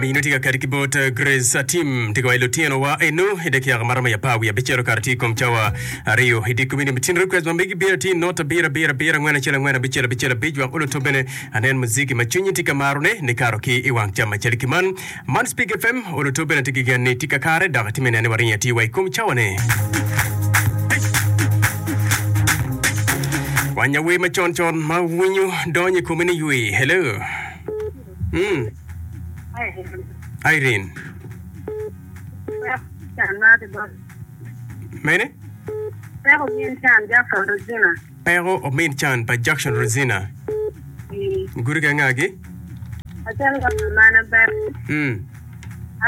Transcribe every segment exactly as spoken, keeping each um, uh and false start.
Mino tye ka kati ki bot eh, Grace Atim tye ka waco lutino wa eno i dakika maromo i apar wiye abicel okato tye i kom cawa aryo i dye komini matin request ma megi bino tye not abiro abiro abiro angwen acel angwen abicel abicel abic wek oluto bene anen muziki ma cwinyi tye ka marone nikato ki i wang cam macel ki man man Speak F M oluto bene tye ki gen ni tye kakare dok atime nene waringo atir wa i kom cawane. Wanya wer macon con ma winyo donyo i komi ni ywi. Hello. Mm. Irene. Mene? Peko min can Jackson Rosina. Peko omin can pa Jackson Rosina. Gudi ki angagi? Acel ka mamana Betty. Mm.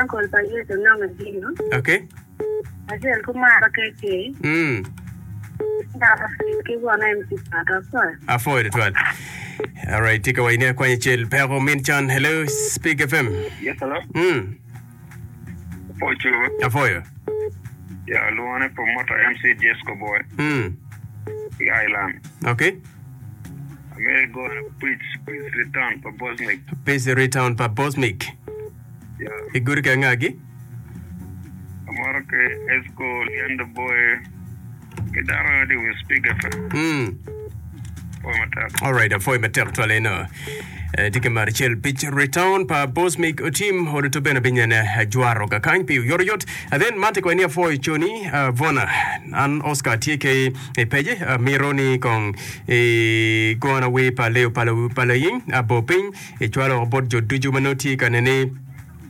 Uncle pa Yecu nongo Gino. Okay. Acel ku mara K K. Mm. Ki won M C Pato afoyo. Afoyo tutwal. Alright, tika wa ini akwanya cel peko min can. Hello, Speak F M. Yes, hello. Mm. Afoyo. Afoyo. Ya, luone promoter M C Jesco Boy. Mm. I Island. Okay. Ameri go preach, preach return pa Bosmic. Peace return pa Bosmic. Yeah. Igudi ki angagi? Amoro ke Esco Liendo Boy. Ki dano di wi Speak F M. Mm. Afoyo matek. Alright, afoyo matek twal eno. Eh, tye ka mar cel pic return pa Bosmic Otim oduto bene binyene jwaro kakany pi oyotoyot. And then man tye ni afoyo coni uh, Vona an Oscar tye ke i pece uh, miro ni kong i gona wer pa Leo Palaying abo piny icwalo bot jo ducu ma nongo tye ka nene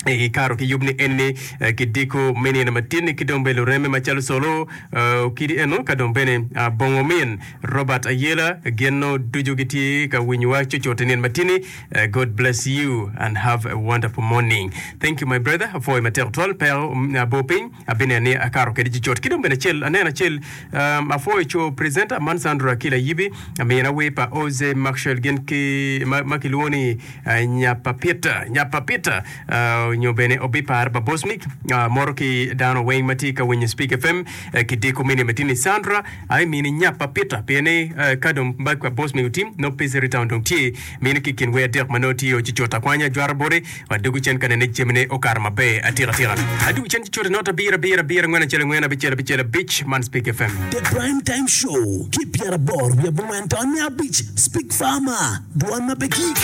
i karo ki yub ni enni eh, kidiko me nino matin ki dong bene lureme macalo solo eh, okidi eno ka dong bene ah, bongo min Robert Ayela gin no ducu gitye ka winyowa cucut i nino matini. Eh, God bless you and have a wonderful morning. Thank you, my brother. Afoyo matek twal peko mm, abo piny abine ni akaro kede cucut ki dong bene acel aneno acel um, afoyo co presenter man Sandra Akila Yibi amina wer pa Oze Maxwell gin ki ma, ma kilwongo ni uh, Nyapa Peter Nyapa Peter uh, nyo bene obipar pa Bosmic uh, moro ki dano weng ma tye ka winyo Speak F M uh, kidiko mini matini Sandra ai mini Nyapa Peter pien ni uh, ka dong bag pa Bosmic otim no Peace Town dong tye mini ki kin wer adek ma nongo tye ocucut akwanya jwaro boti wadugu cen ka nene jamine okato maber atika tika adugu cen cucut not abiro abiro abiro angwen acel angwen abicel abicel abic man Speak F M. The Prime Time Show ki pyeraboro wiye abongwen tony abic Speak Farmer, dwan ma pe gik.